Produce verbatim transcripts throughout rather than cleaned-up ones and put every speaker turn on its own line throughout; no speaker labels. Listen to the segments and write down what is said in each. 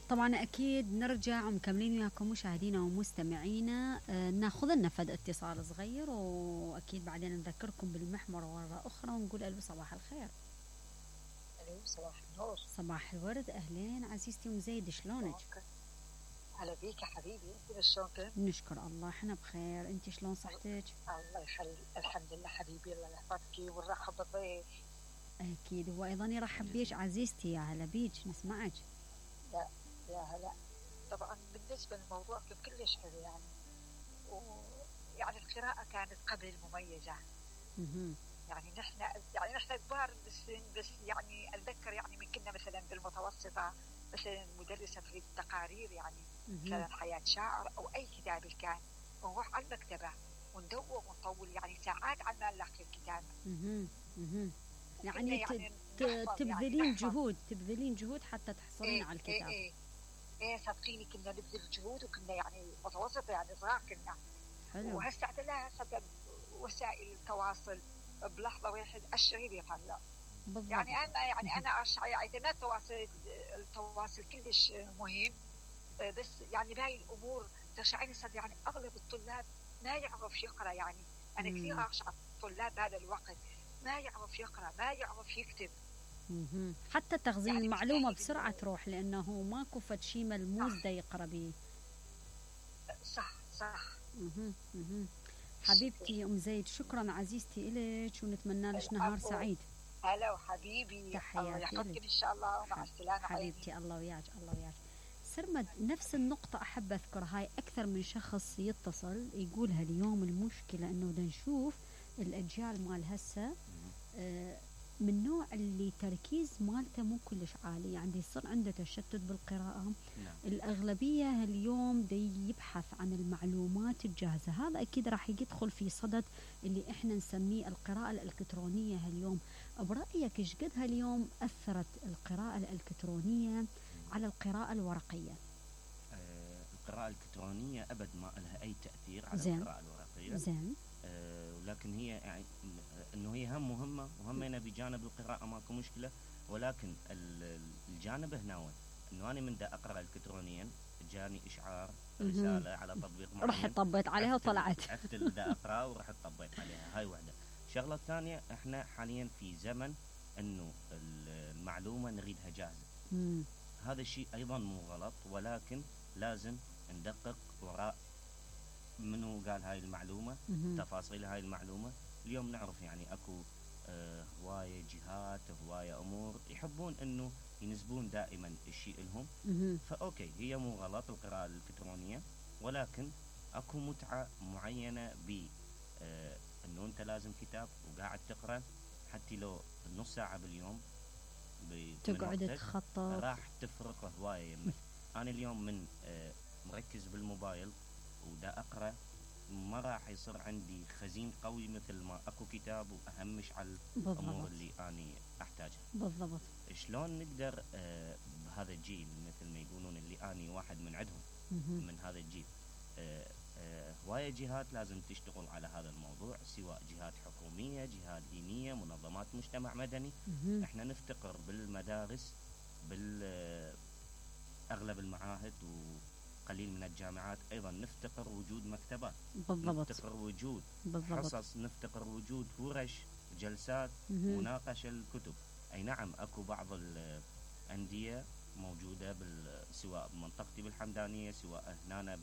طبعا أكيد نرجع ومكملين وياكم مشاهدينا ومستمعينا. آه ناخذ لنا فد اتصال صغير، وأكيد بعدين نذكركم بالمحور مرة أخرى ونقول ألو صباح الخير.
ألو صباح النور.
صباح الورد. أهلين عزيزتي أم زيد، شلونك؟
هلا بيك يا حبيبي، انت شلونك؟
نشكر الله احنا بخير، انت شلون صحتك؟
الله يخلي، الحمد لله حبيبي، الله يحفظك ونرحب بالضيف.
اكيد هو ايضا يرحب بيك عزيزتي. يا هلا بيك، نسمعك.
لا يا هلا. طبعا بالنسبه للموضوع كلش حلو يعني، ويعني القراءه كانت قبل مميزه.
اها
يعني نحن يعني نحن كبار بالسن، بس يعني اتذكر يعني من كنا مثلا بالمتوسطه مثلا مدرسه في التقارير يعني مثلا حياه شاعر او اي كتاب كان، ونروح على المكتبه وندور ونطول يعني ساعات على ما نلاقي الكتاب.
اها اها يعني,
يعني
تبذلين
يعني
جهود تبذلين جهود حتى تحصلين
إيه
على الكتاب.
ايه ايه ايه صدقيني كنا نبذل جهود، وكنا يعني متوسطه يعني صغار كنا.
حلو.
وهسه لا هسه وسائل التواصل بلحظه واحد الشيء بيطلع.
بالضبط.
يعني انا يعني انا يعني التواصل التواصل كلش مهم، بس يعني بهاي الامور تشعرني صدق يعني اغلب الطلاب ما يعرف يقرا. يعني انا كثير اشعر الطلاب هذا الوقت ما يعرف يقرا، ما يعرف يكتب.
مم. حتى تخزين
يعني
المعلومه بسرعه تروح، لانه ماكو فد شيء ملموس دا يقرا به.
صح صح.
مم. مم. حبيبتي ام زيد، شكرا عزيزتي الك، ونتمنى لك نهار سعيد.
هلا وحبيبي،
تحياتي
الله يحفظك ان شاء الله، ومع السلامه
حبيبتي. الله وياك الله وياك. سرمد، نفس النقطة أحب أذكر، هاي أكثر من شخص يتصل يقولها اليوم. المشكلة إنه بدنا نشوف الأجيال مال هسه آه من نوع اللي تركيز مالته مو كلش عالي، يعني يصير عنده تشتت بالقراءة.
نعم.
الأغلبية اليوم دي يبحث عن المعلومات الجاهزة. هذا أكيد راح يدخل في صدد اللي إحنا نسميه القراءة الإلكترونية اليوم. برأيك إيش قد هاليوم أثرت القراءة الإلكترونية على القراءة الورقية؟
آه القراءة الإلكترونية أبد ما لها أي تأثير على
زين.
القراءة الورقية.
زين.
آه ولكن هي يعني إنه هي هم مهمة، وهمنا بجانب القراءة ماكو مشكلة، ولكن الجانب هنا إنه أنا من دا أقرأ إلكترونيا جاني إشعار رسالة على تطبيق معين،
رحت طبيت عليها وطلعت.
عرفت اللي دا أقرأ ورحت طبيت عليها. هاي واحدة. الشغلة الثانية، إحنا حاليا في زمن إنه المعلومة نريدها جاهزة.
مم.
هذا الشيء أيضا مو غلط، ولكن لازم ندقق وراء منو قال هاي المعلومة،
مم.
تفاصيل هاي المعلومة. اليوم نعرف يعني أكو آه هواية جهات، هواية أمور يحبون إنه ينسبون دائما الشيء لهم.
مم.
فأوكي، هي مو غلط القراءة الإلكترونية، ولكن أكو متعة معينة ب آه إنه أنت لازم كتاب وقاعد تقرأ، حتى لو نص ساعة باليوم
تقعد تخطط،
راح تفرق هواية يمك. أنا اليوم من آه مركز بالموبايل ودا أقرأ، ما راح يصير عندي خزين قوي مثل ما أكو كتاب وأهمش على
بالضبط.
الأمور اللي أنا أحتاجها.
بالضبط.
شلون نقدر آه بهذا الجيل مثل ما يقولون اللي أنا واحد من عندهم
مم.
من هذا الجيل، آه آه هواية جهات لازم تشتغل على هذا الموضوع، سواء جهات حكومية، جهات دينية، منظمات مجتمع مدني.
مم.
احنا نفتقر بالمدارس، بالأغلب المعاهد وقليل من الجامعات أيضا نفتقر وجود مكتبات.
بالضبط.
نفتقر وجود
بالضبط.
حصص، نفتقر وجود ورش، جلسات،
مم.
مناقشة الكتب. أي نعم، أكو بعض الأندية موجودة سواء بمنطقتي بالحمدانية، سواء هنا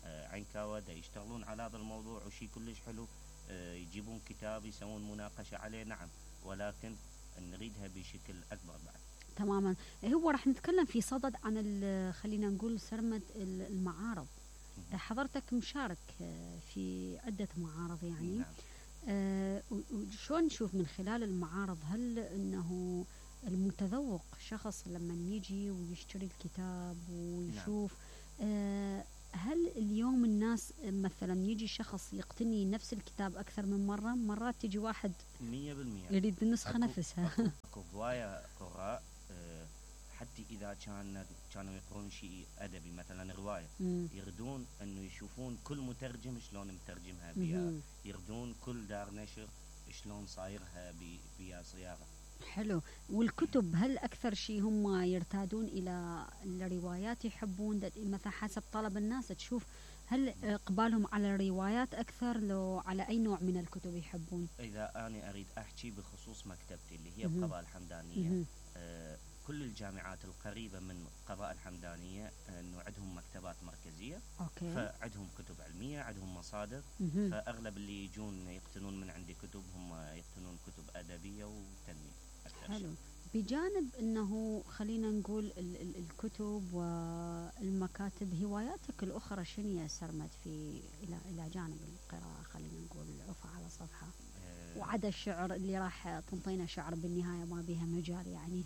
بعينكاوة، دا يشتغلون على هذا الموضوع وشي كلش حلو. يجيبون كتاب يسوون مناقشة عليه، نعم، ولكن نريدها بشكل أكبر بعد.
تماما. هو راح نتكلم في صدد عن خلينا نقول سرمد المعارض. حضرتك مشارك في عدة معارض يعني.
نعم.
آه وشون نشوف من خلال المعارض، هل انه المتذوق شخص لما يجي ويشتري الكتاب ويشوف، نعم. آه هل اليوم الناس مثلا يجي شخص يقتني نفس الكتاب أكثر من مرة؟ مرات تجي واحد
مية بالمية
يريد النسخة
أكو
نفسها.
أكو, أكو هواية قراء أه حتى إذا كان كانوا يقرون شيء أدبي مثلا رواية،
مم.
يردون أنه يشوفون كل مترجم شلون مترجمها بيا، يردون كل دار نشر شلون صايرها بيا صياغة.
حلو. والكتب هل أكثر شيء هم يرتادون إلى الروايات يحبون مثلا حسب طلب الناس تشوف هل إقبالهم على الروايات أكثر لو على أي نوع من الكتب يحبون؟
إذا أنا أريد أحكي بخصوص مكتبتي اللي هي بقضاء الحمدانية، آه كل الجامعات القريبة من قضاء الحمدانية أنه عندهم مكتبات مركزية.
أوكي.
فعندهم كتب علمية، عندهم مصادر.
مهم.
فأغلب اللي يجون يقتنون من عندي كتب هم يقتنون كتب أدبية وتنمية.
حلو. بجانب أنه خلينا نقول ال ال الكتب والمكاتب، هواياتك الأخرى شنو يا سرمد في إلى إلى جانب القراءة؟ خلينا نقول عفا على صفحة أه وعدا الشعر اللي راح تنطينا شعر بالنهاية ما بيها مجال يعني.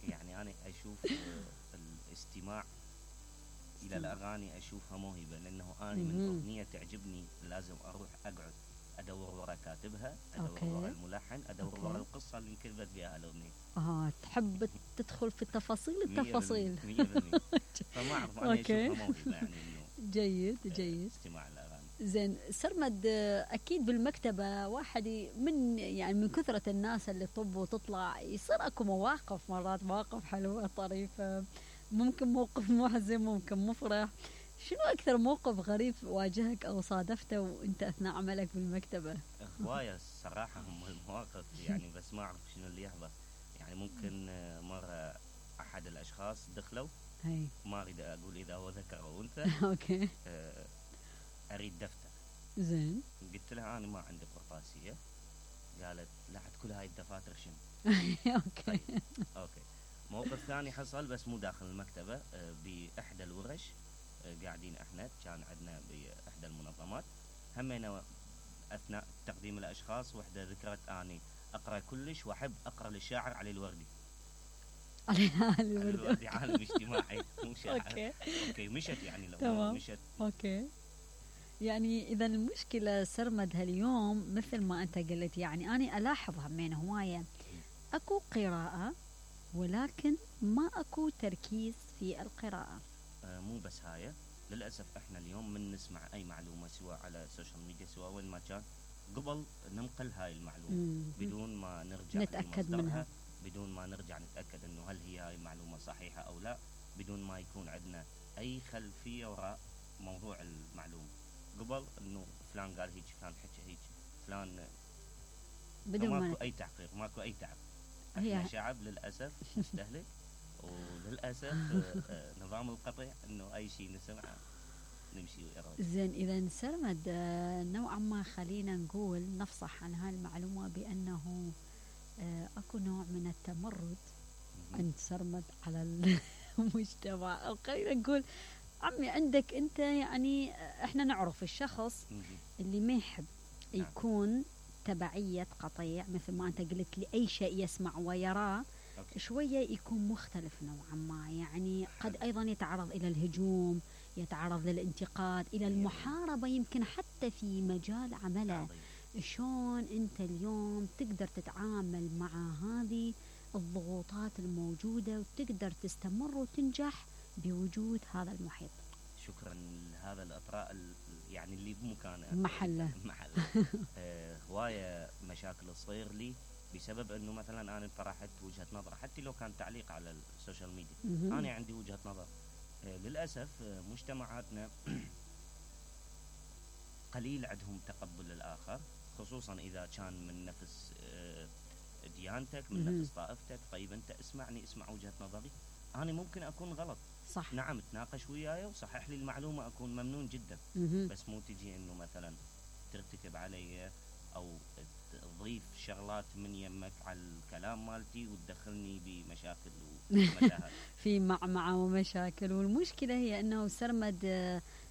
يعني أنا أشوف الاستماع إلى الأغاني أشوفها موهبة، لأنه أنا من أغنية تعجبني لازم أروح أقعد أدور ورا كاتبها، أدور أوكي. ورا الملحن، أدور أوكي. ورا القصة اللي انكتبت بها الأغنية.
آه تحب تدخل في التفاصيل التفاصيل.
مية بالمية. فما أعرف أنا أشوفها موهبة يعني إنه
جيد جيد.
استماع الأغاني.
زين سرمد، أكيد بالمكتبة واحد من يعني من كثرة الناس اللي طب وتطلع يصير أكو مواقف، مرات مواقف حلوة طريفة، ممكن موقف محزن ممكن مفرح. شنو أكثر موقف غريب واجهك أو صادفته وأنت أثناء عملك بالمكتبة؟
هواية الصراحة هم المواقف يعني، بس ما أعرف شنو اللي يحضر. يعني ممكن مرة أحد الأشخاص دخلوا،
هي.
ما أريد أقول إذا هو ذكر أو أنثى.
أوكي.
أريد دفتر.
زين.
قلت لها أنا ما عندي قرطاسية. قالت لا عاد كل هاي الدفاتر شنو.
أوكي.
طيب. أوكي. موقف ثاني حصل بس مو داخل المكتبة، بإحدى الورش قاعدين احنا، كان عندنا باحدى المنظمات همينا اثناء تقديم الاشخاص، وحده ذكرت اني اقرا كلش واحب اقرا للشاعر علي الوردي.
علي الوردي.
الوردي عالم اجتماعي مو شاعر.
اوكي
اوكي مشت يعني لو
تمام.
مشت.
اوكي. يعني اذا المشكله سرمد هاليوم مثل ما انت قلت، يعني انا الاحظ همين هوايه اكو قراءه ولكن ما اكو تركيز في القراءه.
مو بس هاي، للأسف احنا اليوم من نسمع أي معلومة سواء على السوشيال ميديا سواء وين ما كان، قبل ننقل هاي المعلومة مم. بدون ما نرجع
نتأكد منها،
بدون ما نرجع نتأكد انه هل هي هاي المعلومة صحيحة او لا، بدون ما يكون عندنا اي خلفية وراء موضوع المعلومة. قبل انه فلان قال هيك، فلان حكى هيك، فلان بدون ما ماكو اي تحقيق، ماكو اي تعب. احنا شعب للأسف مستهلك، وللأسف نظام القطع انه اي شيء نسمعه نمشي ويرد.
زين اذا سرمد نوعا ما خلينا نقول نفصح عن هاي المعلومة بانه اكو نوع من التمرد عند سرمد على المجتمع، او خلينا نقول عمي عندك انت، يعني احنا نعرف الشخص اللي ما يحب يكون تبعية قطيع مثل ما انت قلت لي، اي شيء يسمع ويراه أوكي. شوية يكون مختلف نوعا ما، يعني قد أيضا يتعرض إلى الهجوم، يتعرض للانتقاد، إلى المحاربة، يمكن حتى في مجال عمله. شلون أنت اليوم تقدر تتعامل مع هذه الضغوطات الموجودة وتقدر تستمر وتنجح بوجود هذا المحيط؟
شكرا لهذا الإطراء يعني اللي بمكانه
محله
محله. آه هواية مشاكل تصير لي بسبب انه مثلا انا طرحت وجهة نظر، حتى لو كان تعليق على السوشيال ميديا، انا عندي وجهة نظر. آه للاسف آه مجتمعاتنا قليل عندهم تقبل للاخر، خصوصا اذا كان من نفس آه ديانتك، من نفس طائفتك. طيب انت اسمعني، اسمع وجهة نظري، انا ممكن اكون غلط،
صح،
نعم تناقش وياي وصحح لي المعلومة، اكون ممنون جدا. بس مو تجي انه مثلا ترتكب علي او تضيف شغلات من يمك على الكلام مالتي وتدخلني بمشاكل ومتاهات.
في معمعة ومشاكل. والمشكلة هي أنه سرمد،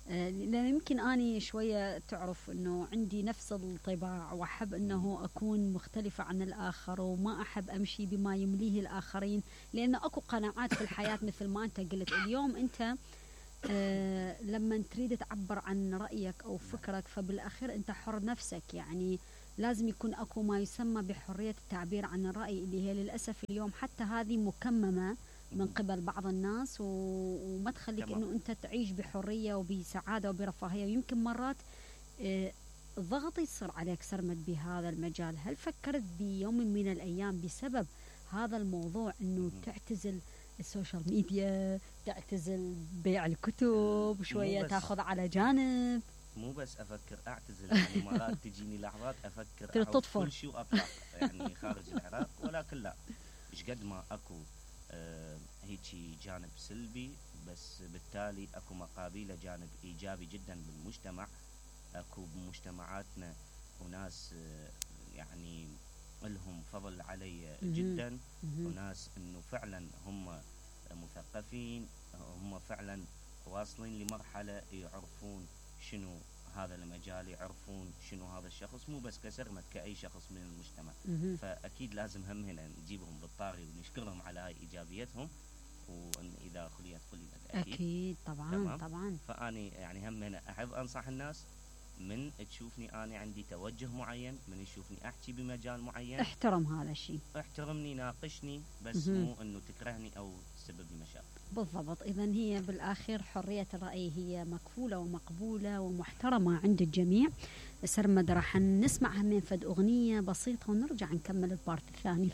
لأن يمكن أني شوية تعرف أنه عندي نفس الطباع، وأحب أنه أكون مختلفة عن الآخر، وما أحب أمشي بما يمليه الآخرين، لأن أكو قناعات في الحياة مثل ما أنت قلت. اليوم أنت آه لما تريد تعبر عن رأيك أو فكرك فبالأخير أنت حر نفسك، يعني لازم يكون أكو ما يسمى بحرية التعبير عن الرأي، اللي هي للأسف اليوم حتى هذه مكممة من قبل بعض الناس، وما تخليك أنه أنت تعيش بحرية وبسعادة وبرفاهية. ويمكن مرات آه ضغط يصير عليك سرمد بهذا المجال. هل فكرت بيوم من الأيام بسبب هذا الموضوع انه تعتزل السوشيال ميديا، تعتزل بيع الكتب شويه، تاخذ على جانب.
مو بس افكر اعتزل، يعني مرات تجيني لحظات افكر
تطفر
كل شيء واطلع يعني خارج العراق، ولكن لا، ايش قد ما اكو آه هيجي جانب سلبي، بس بالتالي اكو مقابله جانب ايجابي جدا بالمجتمع. اكو بمجتمعاتنا وناس آه يعني لهم فضل علي جدا، وناس انه فعلا هم مثقفين، هم فعلا واصلين لمرحله يعرفون شنو هذا المجال، يعرفون شنو هذا الشخص، مو بس كسرمد كأي شخص من المجتمع. فأكيد لازم هم هنا نجيبهم بالطاري ونشكرهم على هاي إيجابيتهم، وإذا خليت خليت أكيد,
أكيد طبعا
تمام.
طبعا.
فأني يعني هم هنا أحب أنصح الناس، من تشوفني أنا عندي توجه معين، من يشوفني أحكي بمجال معين،
احترم هذا الشيء،
احترمني، ناقشني، بس مو إنه تكرهني أو تسبب لي مشاكل.
بالضبط. إذا هي بالآخر حرية الرأي هي مكفولة ومقبولة ومحترمة عند الجميع. سرمد راح نسمعها من فد أغنية بسيطة ونرجع نكمل البارت الثاني.